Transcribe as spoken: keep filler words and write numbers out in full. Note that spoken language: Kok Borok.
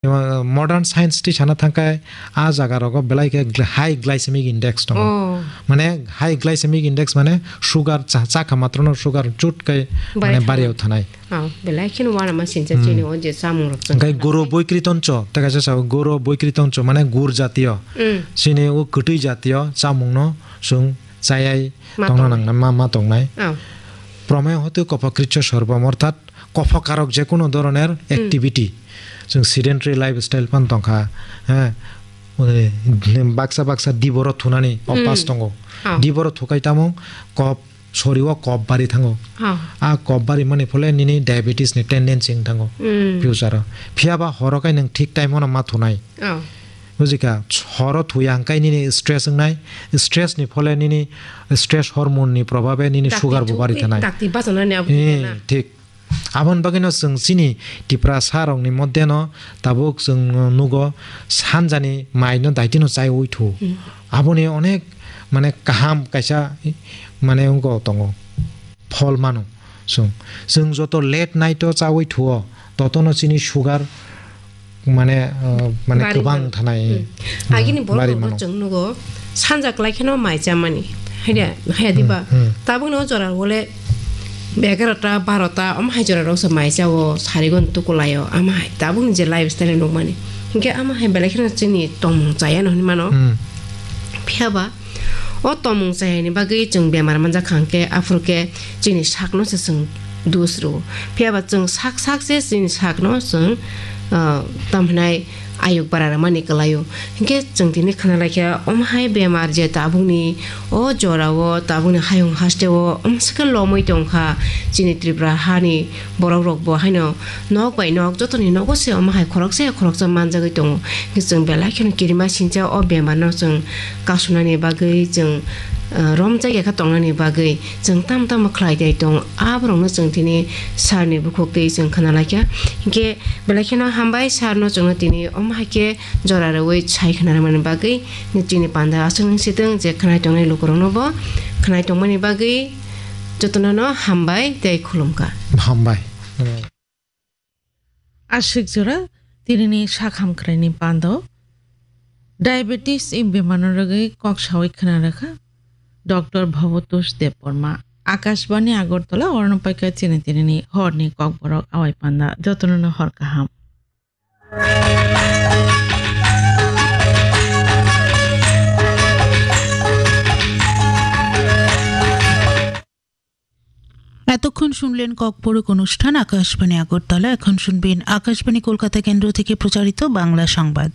Modern science twi sana thangkhe a jaga rogo belai khe gl-, high glycemic index tongo. Oh. Mane high glycemic index mane sugar cha-, chakha matrono sugar chut kai mane Barai thanai. Bariyo thanai. Oh, belai kheno uanama sincha Hmm. chini o je chamung rok chwng Hwnkhe kha goro nai. Boikritoncho, tei kaisa sao goro boikritoncho mane gur jatiyo. Hmm. Chini o kwtwi jatiyo chamungno chwng chayai Ma tongna tongnai. Nangnai, ma, ma tongnai. Oh. Promeyo hotu kopokritcho sorbom, orthat kophokarok je kono doroner Hmm. activity, chwng sedentary lifestyle phan tongkha, he, baksa baksa diboro thunani obas Hmm. tongo. Oh. Diboro thukai tamo kop, sori o kop bari thango. Oh. A kop bari mani phole nini diabetes ni tendency wng thango Hmm. future o. Phiya ba horo kai nwng thik time o no ma thunai. Oh. Bujikha, horo thuya hwnkhe nini stress wngnai, stress ni phole nini stress hormone ni probhabe nini Dakti sugar bo chuk-, bari thanai. Dakti bachana ni abo Eh, na. Thik. Aboni bagwino chwng chini Tiprasa rokni moddeno tabuk chwng nugo sanjani maino daitino chaiwi thu. Hmm. Aboni onek mane kaham kaisa mane wngkha tongo. Phol mano. Chwng, chwng joto late night o chawi thuo, totono chini sugar mane, uh, mane Bari kwbang mano. Thanai, Hmm. uh, Agini bari borok mano. Chwng nugo, sanja kwlai kheno mai chamani. Haida, haya diba? Hmm, hmm. Tabukno jora wole egarota, barota, om hai jora roksa mai chao, sarigon tukulaio, ama hai. Tabukni je lifestyle nukmani. Hinkhe ama hai belai kheno chini tongmung chaya no hinmano. Hmm. Phiya ba, O tongmung chayani bagwi chwng bemar manjak kha hwnkhe, aphuru khe chini sakno se chwng dos rwo. Phiya ba chwng sak sak se chini sakno chwng, ah, tamo hinai ayuk bara rwmani kwlaio. Hinkhe chwng tini khna laikha, omo hai bemar je tabukni o jorao, tabukni hayung hasteo, omo se khe lomwi tongkha chini Tripura hani borok rokbo haino nok bai nok jotoni nogo se omo hai khoroksa ya khoroksa manjagwi tongo. Hwnkhe chwng belai kheno kirima sincha o bemar no chwng kasunani bagwi, chwng, ah, romjak ya kha tongnani bagwi chwng tamo tamo khlai dai tongo. Aborok no chwng tini sir ni bukhuk twi chwng khna laikha. Hwnkhe belai kheno hambai sir no chwngno tini omo hai khe jora rwui sai khna rwmani bagwi chini panda aswk nung sitwng je khnai tongnai lukurok no bo khnai tongmani bagwi jotono no hambai tei khulumkha. Hambai. Aswk jora tinini sak hamkraini pando diabetes ni bemar no rwgwi kok sawi khna rwkha Doctor Bhabatosh Debbarma. Akashbani Agartala, orno paikha chini tinini horni kokborok awai panda. Jotono no hor kaham. এতক্ষণ শুনলেন ককবরক অনুষ্ঠান আকাশবাণী আগরতলা। এখন শুনবেন আকাশবাণী কলকাতা কেন্দ্র থেকে প্রচারিত বাংলা সংবাদ।